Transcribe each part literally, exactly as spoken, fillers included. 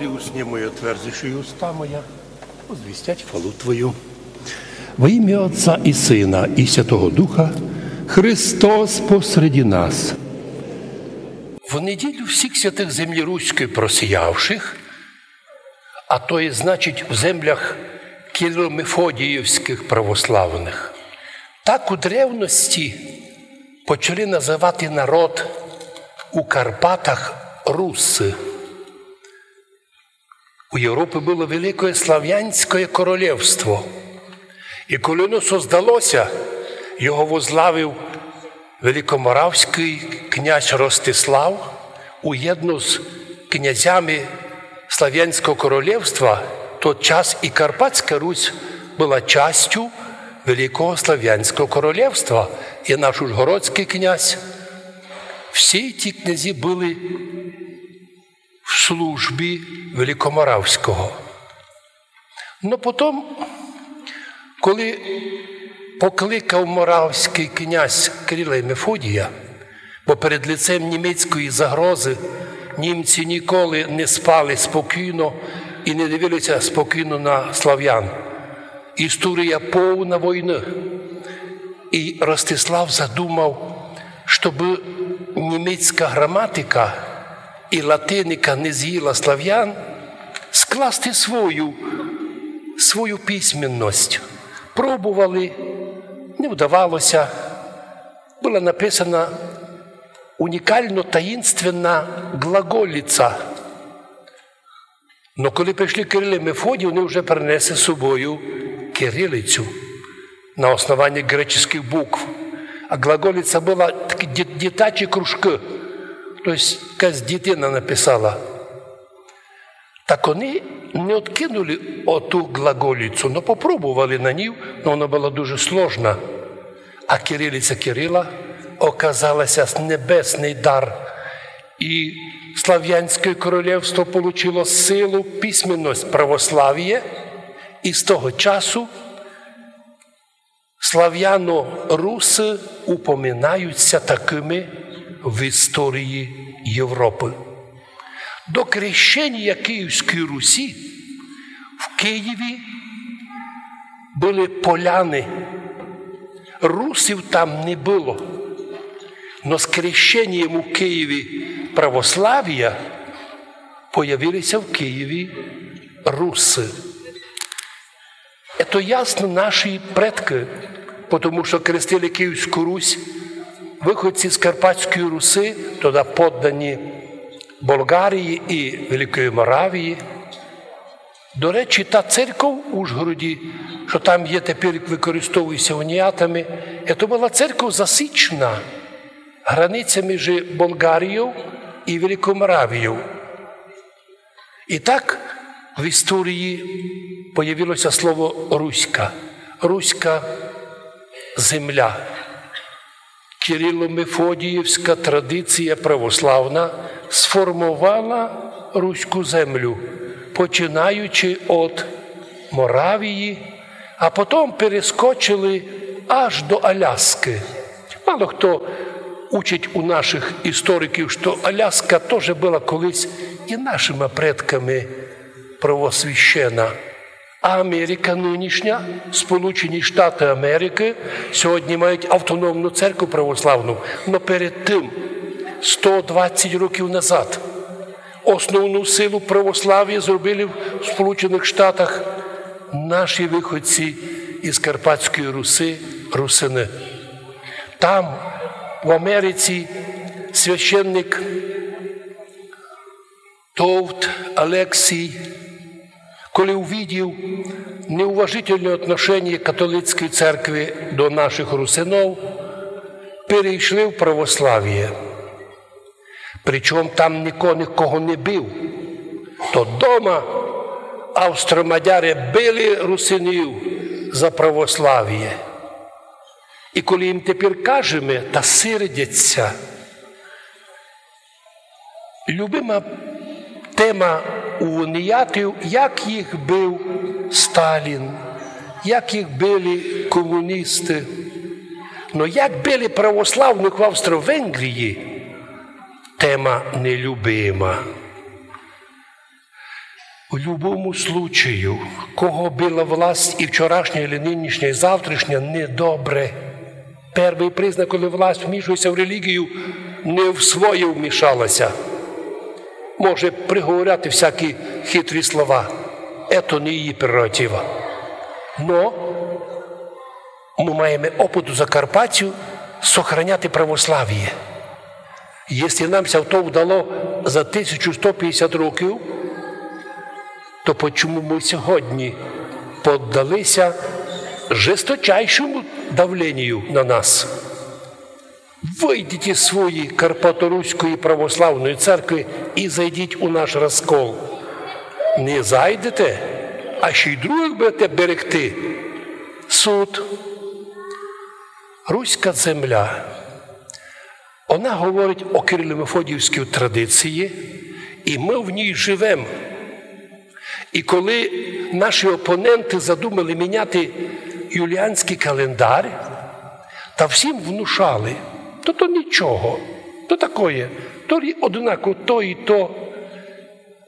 Усни мої, отверзиши уста моя, возвістять хвалу Твою. Во імя Отця і Сына, і Святого Духа, Христос посреди нас. В неділю всіх святых землі руської просіявших, а то є, значить, в землях кирило-мефодіївськых православных, так у древности почали называти народ у Карпатах русы. У Європі было Великоє Славянськоє королевство. І коли воно создалося, його возглавив великоморавськый князь Ростислав, уєдно з князями Славянського королевства, тот час і Карпатська Русь была частю Великого Славянського королевства, і наш ужгородськый князь. Всі ті князі были в службі великоморавського. Но потом, коли покликав моравськый князь Кирила і Мефодія, бо перед лицем німецької загрозы німці ніколи не спали спокійно і не дивилися спокійно на славян. Історія повна войны. І Ростислав задумав, щоб німецька граматика і латиника не з'їла славян, скласти свою, свою письменность. Пробовали, не вдавалося. Была написана унікално таїнственна глаголиця. Но коли пришли Кирил і Мефодій, они вже принесли з собою кирилицю на основанні греческых букв. А глаголиця была такі діт-, дітачі кружкы. То єсть якась дітина написала. Так они не откинули оту глаголицю, но попробовали на ній, но вона была дуже сложна. А кирилиця Кирила оказалася небесный дар. І Славянськоє королевство получило силу, письменность, православіє, і з того часу славяно-русы упоминаються такыми в історії Європы. До крещенія Київської Русі в Києві были поляны. Русів там не было. Но з крещенієм у Києві православія появилися в Києві русы. Це ясно наші предкы, потому што крестили Київську Русь выходці з Карпатської Руси, тогда поддані Болгарії і Великої Моравії. До речі, та церков у Ужгороді, што там є тепер, використовується уніатами, це была церков засічена границя між Болгарією і Великою Моравією. І так в історії появилося слово руська, руська земля. Кирило-мефодіївська традиція православна сформовала руську землю, починаючи від Моравії, а потом перескочили аж до Аляскы. Мало хто учить у нашых істориків, што Аляска тоже была колись і нашыма предками провосвящена. А Америка нынішня, Сполучені Штаты Америкы, сьогодні мають автономну церкву православну, но перед тым, сто двадцять років назад, основну силу православія зробили в Сполученых Штатах наші выходці із Карпатської Руси, русины. Там, в Америці, священник Товт Алексій, коли увидів неуважительне отношеніє католицької церкви до нашых русинов, перейшли в православіє. Причому там нико никого не бив. То дома австромадяри били русинів за православіє. І коли їм тепер кажеме, та сердяться. Любима тема у уніатів, як їх бив Сталін, як їх били комуністы. Но як били православных в Австро-Венгрії, тема нелюбима. У любому случаю, кого была власть і вчорашня, і нынішня, і завтрашня, недобре. Першый признак, коли власть вмішується в релігію, не в своє вмішалася. Може приговоряти всякі хитрі слова. Ето не її прерогатива. Но мы маєме опыт у Закарпаттю сохраняти православіє. Якщо нам ся то вдало за тисячу сто пятдесят років, то почому мы сьогодні поддалися жесточайшому давлению на нас? Выйдіть из своєї Карпаторуської православної церкви і зайдіть у наш розкол. Не зайдете, а ще й других будете берегти. Суд. Руська земля. Она говорить о кирило-мефодіївській традиції, і мы в ній живем. І коли наші опоненты задумали міняти юліанськый календар, та всім внушали: то, то нічого, то такоє, то рі-, однако то і то.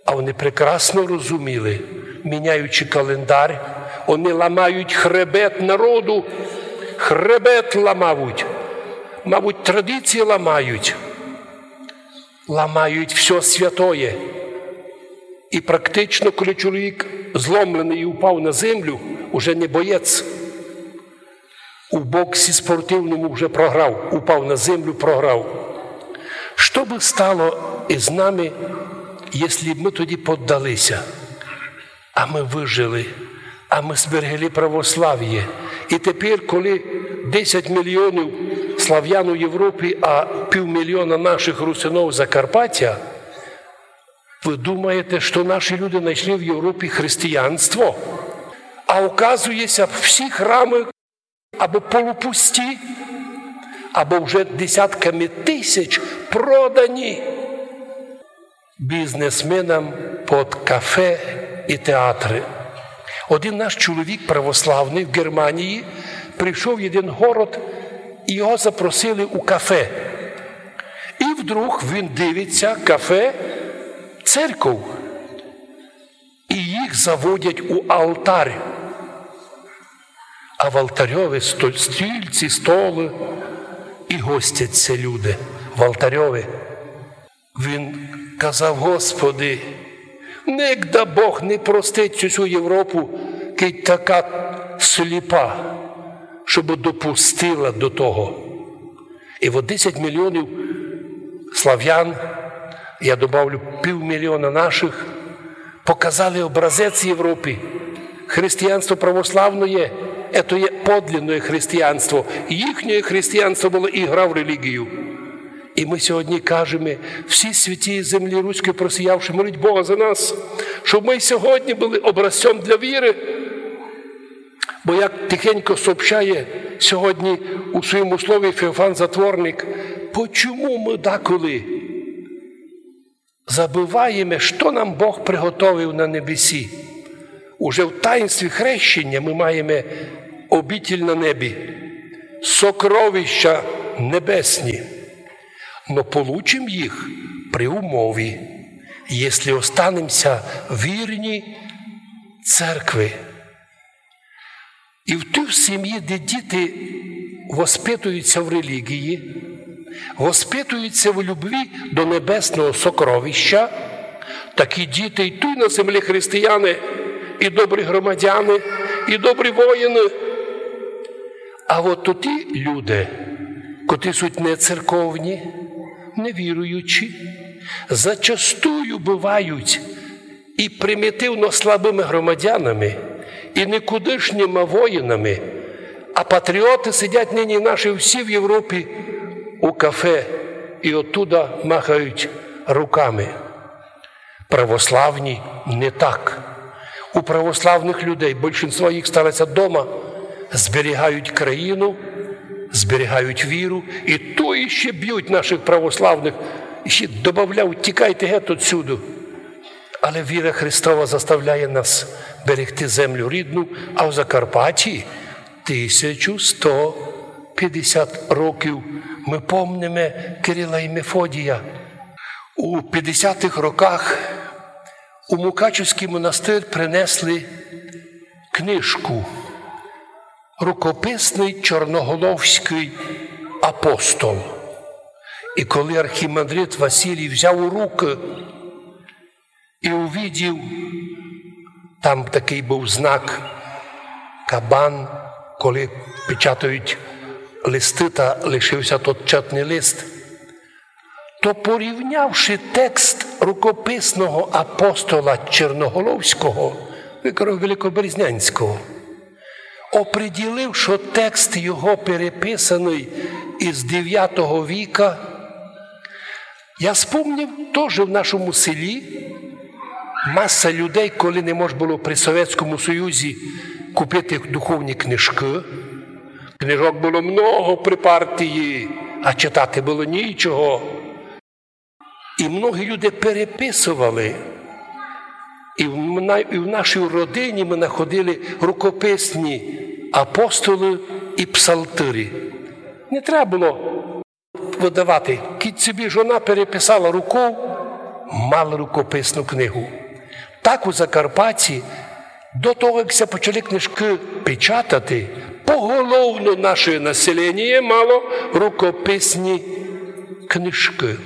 А вони прекрасно розуміли, міняючи календар, вони ламають хребет народу, хребет ламають, мабуть, традиції ламають, ламають всьо святоє. І практично, коли чоловік зломленый і упав на землю, уже не боєць. У боксі спортивному вже програв, упав на землю, програв. Што бы стало из нами, если б мы тоді поддалися? А мы выжили, а мы зберегли православіє. І тепер, коли десять мільйонів славян у Європі, а півмільйона наших русинов Закарпаття, вы думаєте, што наші люди знайшли в Європі християнство? А оказується, всі храмы або полупусті, або вже десятками тисяч продані бізнесменам під кафе і театры. Один наш чоловік православный в Германії прийшов в один город, і його запросили у кафе. І вдруг він дивиться: кафе, церков. І їх заводять у алтарь. А в алтарьови сто-, стільці, столы, і гостять ся люди в алтарьови. Він казав: Господи, нигда Бог не простить цю, цю Європу, кидь така сліпа, щоб допустила до того. І от десять мільйонів славян, я добавлю півмільйона наших, показали образець Європі. Християнство православноє, ето є подлинноє християнство. Їхнє християнство было ігра в релігію. І мы сьогодні кажеме: всі святі землі руської просіявши, моліть Бога за нас, щоб мы й сьогодні были образцьом для віры. Бо, як тихенько сообщає сьогодні у своєму слові Феофан Затворник, почому мы даколи забываєме, што нам Бог приготовив на небесі? Уже в таїнстві хрещення мы маєме обитель на небі, сокровища небесні. Но получим їх при умові, якщо останемся вірні церкви. І в тій сім'ї, де діти воспитуються в релігії, воспитуються в любві до небесного сокровища, такі діти й туй на землі християни, і добрі громадяни, і добрі воїни. А от ті люди, котрі суть нецерковні, невіруючі, зачастую бывають і примітивно слабыми громадянами, і никудишніма воїнами, а патріоты сидять нині наші всі в Європі у кафе і оттуда махають руками. Православні не так. У православных людей, большинство їх стараться дома, зберігають країну, зберігають віру, і то іще бють наших православных, іще добавляють: «Тікайте геть отсюду». Але віра Христова заставляє нас берегти землю рідну, а в Закарпатті тисячу сто пятдесят років мы помниме Кирила і Мефодія. У пятдесятых роках У Мукачевськый монастырь принесли книжку «Рукописный чорноголовськый апостол». І коли архімандрит Василій взяв у рукы і увидів, там такый быв знак кабан, коли печатають листы, та лишився тот чатный лист, то, порівнявши текст рукописного апостола Черноголовського, викро-, Великоберезнянського, оприділив, што текст його переписаный із девятого віка. Я спомнив, тоже в нашому селі маса людей, коли не мож было при Совєтському Союзі купити духовні книжкы, книжок было много при партії, а читати было нічого. І многі люди переписовали. І в, на-, і в нашій родині мы находили рукописні апостолы і псалтырі. Не треба было выдавати. Кідь собі жона переписала руков, мала рукописну книгу. Так у Закарпатті до того, як ся почали книжкы печатати, поголовно наше населеніє мало рукописні книжкы.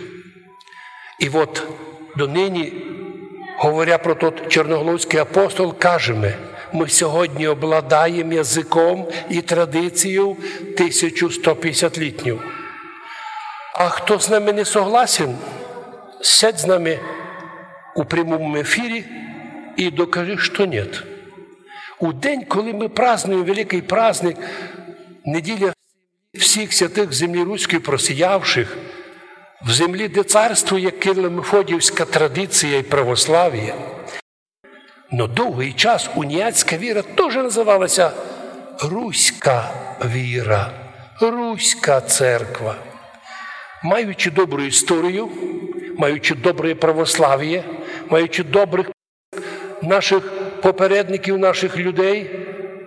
І от донині, говоря про тот Черноголовськый апостол, кажеме: мы сьогодні обладаєме языком і традицією тисячу сто пятдесятлітню. А хто з нами не согласен, сядь з нами у прямому ефірі і докажи, што нєт. У день, коли мы празднуєме великый праздник, неділя всіх святых в землі руській просіявших, в землі, де царствує кирло-мефодіївська традиція і православіє, но довгый час уніатська віра тоже называла ся руська віра, руська церква. Маючи добру історію, маючи добре православіє, маючи добрых нашых попередників, нашых людей,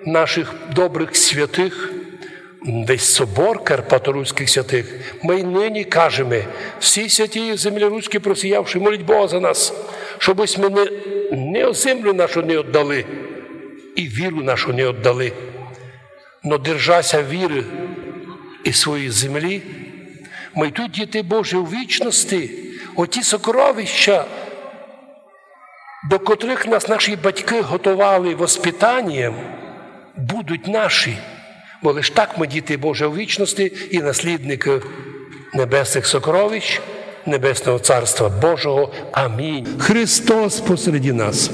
нашых добрых святых, весь собор карпаторуськых святых, мы й нині кажеме: всі святі землі руські просіявші, моліть Бога за нас, штобы сьме не, не землю нашу не оддали і віру нашу не оддали, но держася віры і своєї землі, мы й тут, діти Божі, у вічности, оті сокровища, до котрых нас наші батькы готовали воспитанієм, будуть наші. Бо лиш так мы, діти Божі, у вічности і наслідникы небесных сокровищ, небесного Царства Божого. Амінь. Христос посреди нас.